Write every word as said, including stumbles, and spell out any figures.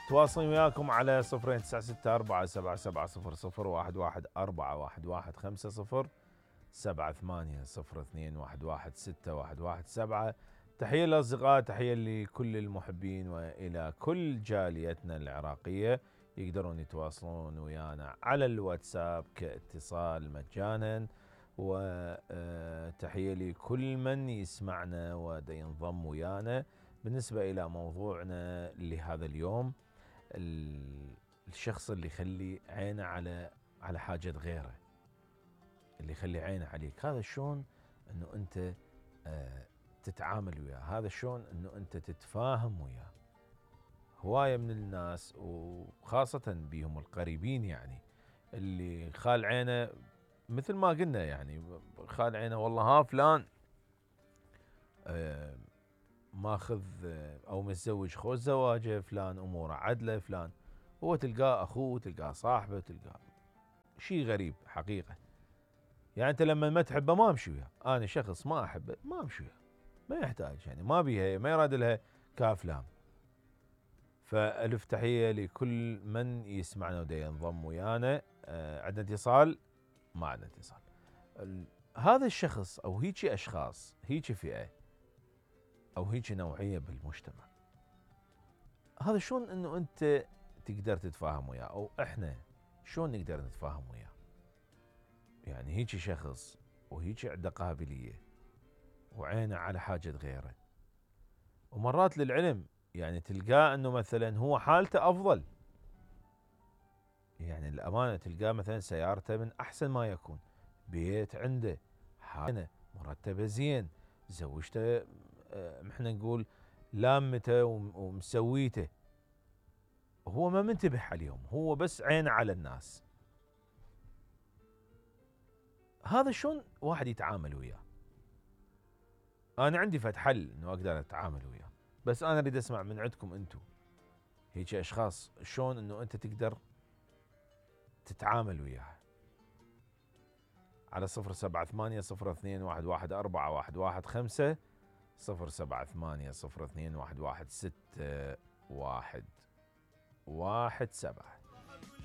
تواصلين وياكم على صفرين تسعة ستة أربعة سبعة سبعة صفر صفر واحد واحد أربعة واحد واحد خمسة صفر سبعة ثمانية صفر اثنين واحد واحد ستة واحد واحد سبعة. تحية للأصدقاء، تحية لكل المحبين وإلى كل جاليتنا العراقية. يقدرون يتواصلون ويانا على الواتساب كاتصال مجانا. وتحية لكل من يسمعنا ودا ينضم ويانا. بالنسبة إلى موضوعنا لهذا اليوم، الشخص اللي يخلي عينه على على حاجة غيره، اللي يخلي عينه عليك، هذا شلون انه انت تتعامل وياه، هذا شلون انه انت تتفاهم وياه. هواية من الناس وخاصة بيهم القريبين يعني اللي خال عينه، مثل ما قلنا يعني خال عينه والله ها فلان ماخذ او متزوج خوش زواجه، فلان اموره عدله، فلان هو تلقاه اخوه، تلقاه صاحبه، تلقاه شيء غريب حقيقه. يعني انت لما ما تحبه ما امشي وياه، انا شخص ما احبه ما امشي وياه، ما يحتاج يعني ما بيها ما يراد لها كافلام. فالف تحيه لكل من يسمعنا ودا ينضم ويانا. آه عندنا اتصال؟ ما عندنا اتصال. هذا الشخص او هيجي اشخاص، هيجي فئه او هيجي نوعيه بالمجتمع، هذا شلون انه انت تقدر تتفاهم وياه، او احنا شلون نقدر نتفاهم وياه؟ يعني هيجي شخص وهيجي عنده قابليه وعينه على حاجه غيره، ومرات للعلم يعني تلقاه انه مثلا هو حالته افضل، يعني الامانه تلقاه مثلا سيارته من احسن ما يكون، بيت عنده، حاله مرتبه زين، زوجته احنا نقول لامته ومسويته، هو ما منتبه عليهم، هو بس عينه على الناس. هذا شلون واحد يتعامل وياه؟ انا عندي فد حل انه اقدر اتعامل وياه، بس انا اريد اسمع من عندكم انتم هيك اشخاص شلون انه انت تقدر تتعامل وياه. على صفر سبعة ثمانية صفر اثنين واحد واحد أربعة واحد واحد خمسة صفر سبعة ثمانية صفر اثنين واحد واحد ستة واحد واحد سبعة.